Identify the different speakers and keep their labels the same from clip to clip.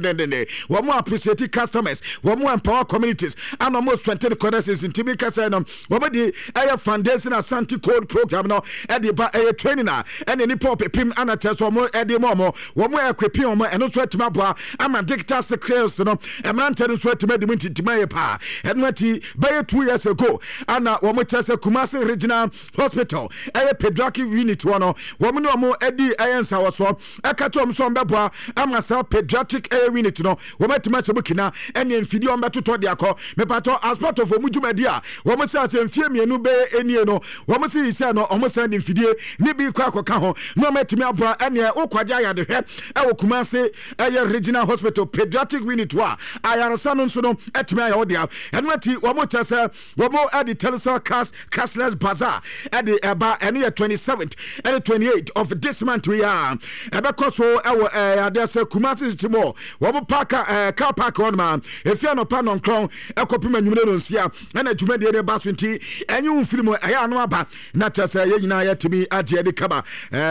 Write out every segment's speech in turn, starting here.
Speaker 1: Dendenden wɔn appreciate customers, wɔn empower communities, ana wɔn strengthen connections. Ntumi kasa no, wɔn de ɛyɛ Foundation Asante Code program no ɛde ba. Ɛyɛ training a ɛne nipa ɔpepem ana kyerɛ sɛ wɔn ɛde ma wɔn equip wɔn. Ɛno nso atumi aboa ama digital skills no, mmeranteɛ no nso atumi adi mu ntintim ayɛ paa. Ɛno akyi, bɛyɛ 2 years ago ana wɔn kyerɛ sɛ Kumasi Regional Hospital ɛyɛ pediatric unit hɔ no, wɔn ne wɔn adi ɛyɛ nsawɔsoɔ, ɛka kyerɛ wɔn sɛ wɔn bɛboa ama saa pediatric ɛyɛ unit no wɔn atumi ahyɛ mu kina, ɛne mfidie wɔn bɛtotɔ de akɔ. Mepatɔ, as part of wɔn dwumadi a wɔn sɛ asɛ mfie 2 bɛyɛ enie no, wɔn sɛ yi sɛ no wɔn sɛn de mfidie ne bi kɔ akɔka ho na wɔn atumi aboa. Ɛneɛ wokɔgye ayadehwɛ ɛwɔ Kumase ɛyɛ Regional Hospital pediatric unit hɔ a, ayaresa no nso no atumi ayɛ wo dea. Ɛno akyi, wɔn kyerɛ sɛ wɔn ɛde Telecel Cash Cashless Bazaar ɛde ɛba. Ɛno yɛ 27th ɛne 28 of this month yi a ɛbɛkɔ so ɛwɔ adeɛ sɛ Kumasi City Mall, wɔn park, car park hɔ nom a efi anɔpa 9 ɛkɔpem anwummerɛ no 6 ɛna dwumadie no ba so. Nti ɛnye wo mfiri mu, ɛyɛ ano aba na kyerɛ sɛ yɛn nyinaa yɛtumi agye ɛde kaba.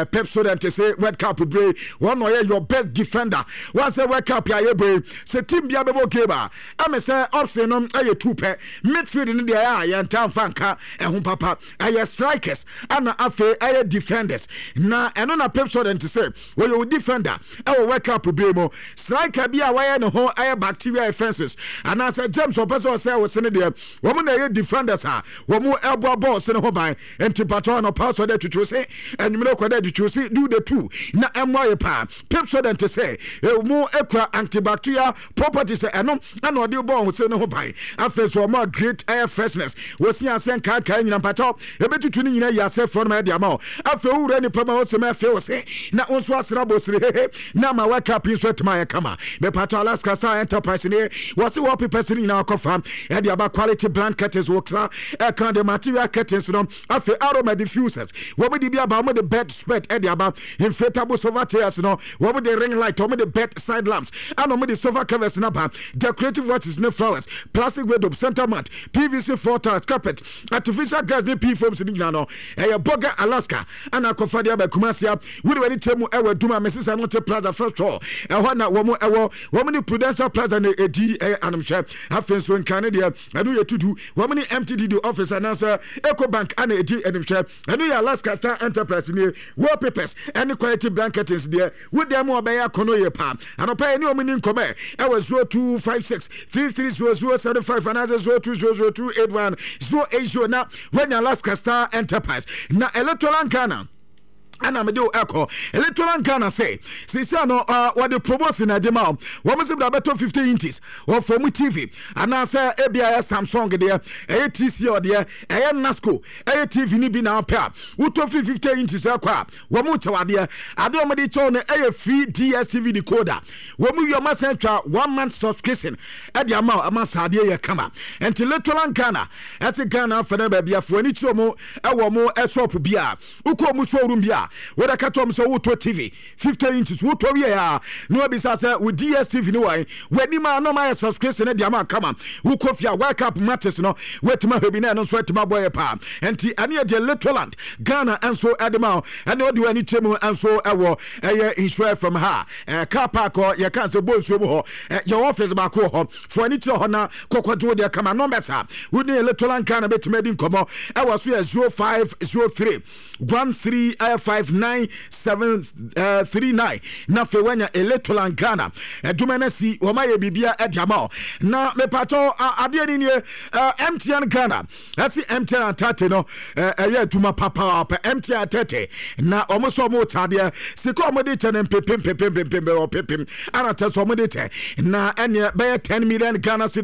Speaker 1: Pepsodent sɛ World Cup bere wɔn na ɔyɛ your best defender. Wɔn sɛ World Cup a yɛbɔ yi, sɛ team bia bɛbɔ game a, ɛmɛ sɛ option no ɛyɛ two pɛ. Midfield no deɛ, ɛyɛ a yɛnta nfa nka ɛho papa. Ɛyɛ strikers ɛna afei ɛyɛ defenders, na ɛno na Pepsodent sɛ wɔyɛ wo defender ɛwɔ World Cup bere mu. Striker bi a wɔyɛ ne ho ɛyɛ bacteria offences anaasɛ germs ɔpɛ sɛ ɔsɛ wɔ sene deɛ, wɔn na ɛyɛ defenders a wɔn ɛboa bɔɔl sene ho ban. Nti patɔ, anɔpa sɔ dɛ twitwiw se, anwummerɛ kɔ dɛ twitwiw se, do the two na ɛmmoa yɛ paa. Pepsodent sɛ ɛmu ekura antibacterial properties, ɛno ɛna ɔde bɔɔl se ne ho ban. Afei so ɔmo a great air freshness, wɔsi ase nkaakae nyina mpakyɛw ebetutu ne nyina yi ase frɔ no ma ɛde ama wo. Afei wowura nipa ma wɔsɛm afei wo se na wo nso asra bɔ siri hehe na ama World Cup yi nso atumi ayɛ kama. Mepatɔ, Alaska Star Enterprise ne wɔse wallpapers no nyinaa kɔfa ɛde aba, quality blind curtains, wɔkra ɛka de material curtains no, afei aroma diffusers wɔn de bi aba, wɔn de bed spread ɛde aba, inflatable sofa chairs no, wɔn de ring light, wɔn de bed side lamps, ɛna wɔn de sofa covers no aba, decorative watches ne flowers, plastic wardrobe, center mat, PVC floor tiles, carpet, artificial grass ne pea foams ne nyinaa no, ɛyɛ Boga Alaska ɛna akɔfa de aba Kumasia. Wode w'ani kyerɛ mu ɛwɔ Adum a Mesesa no te Plaza first floor, ɛhɔ na wɔn ɛwɔ. Wɔn ne Prudential Plaza na ɛdi ɛyɛ anomhwɛ. Afei nso Nkran ne deɛ, ɛno yɛ tudu, wɔn ne MTDD office anaasɛ Eco Bank ana ɛdi animhwɛ. Ɛno yɛ Alaska Star Enterprise nie. Wallpapers ɛne quality blanketings deɛ, wo dan mu ɔbɛyɛ akɔnɔ yie paa. Anɔpa yɛ ne wɔn ni nkɔmɛ ɛwɔ 0256 330075 anaasɛ 0200281080 na wɔanya Alaska Star Enterprise. Na Electoral Ghana ɛna mede wo ɛkɔ. Electoral Ghana sɛ sesia no wɔde promotion na ɛde ma wo. Wɔn sɛ bra bɛtɔ 50 inches wɔfɔ mu TV anaasɛ ebia ɛyɛ Samsung deɛ, ɛyɛ TCL deɛ, ɛyɛ Nasco, ɛyɛ TV no bi na wopɛ a, wotɔ firi 50 inches ɛkɔ a, wɔn kyɛw adeɛ. Adeɛ wɔn de kyɛw no ɛyɛ free DSTV decoder. Wɔn mu wi, wɔn asan twa one month subscription ɛde ama wo ama saa adeɛ yɛ kama. Nti Electoral Ghana ɛsɛ Ghana afɛ no baabi afoɔ ani kyerɛ wɔn ɛwɔ wɔn shop bi a wokɔ mu, showroom bi a wɔde ka kyerɛ wɔn sɛ wotɔ TV 50 inches, wotɔ wie a, na wabisa sɛ wo DSTV no wɔn w'anim a, na ɔma yɛ subscription de ama kama. Wokɔ fie a, World Cup matches no woatumi ahwɛ bi na ɛno nso atumi abɔ yɛ paa. Nti ɛne yɛ deɛ Litoland Ghana nso ɛde ma wo. Ɛne ɔde w'ani kyerɛ mu nso ɛwɔ ɛyɛ Nhyira FM ha, car park hɔ, yɛka sɛ bɔ nsuo mu hɔ, yɛwɔ office baako wɔ hɔ. Fo ani kyerɛ hɔ na kɔkɔgye wo deɛ kama. Numbers a wone Electoral Ghana bɛtumi adi nkɔmmɔ ɛwɔ so yɛ 0503 1359 739 na afei woanya Electoral Ghana adwuma no asi wɔma yɛ biribia ɛde ama wo. Na mepatɔ, adeɛ no nie, MTN Ghana ɛsi MTN atate no ɛyɛ adwuma papaapa. MTN atete na ɔmo sɛ ɔmo kyɛ adeɛ, sika ɔmo de kyɛ no mpepem pepem pepem ɔpepem ana kyɛ sɛ ɔmo de kyɛ na ɛneɛ bɛyɛ 10 million Ghana cedis.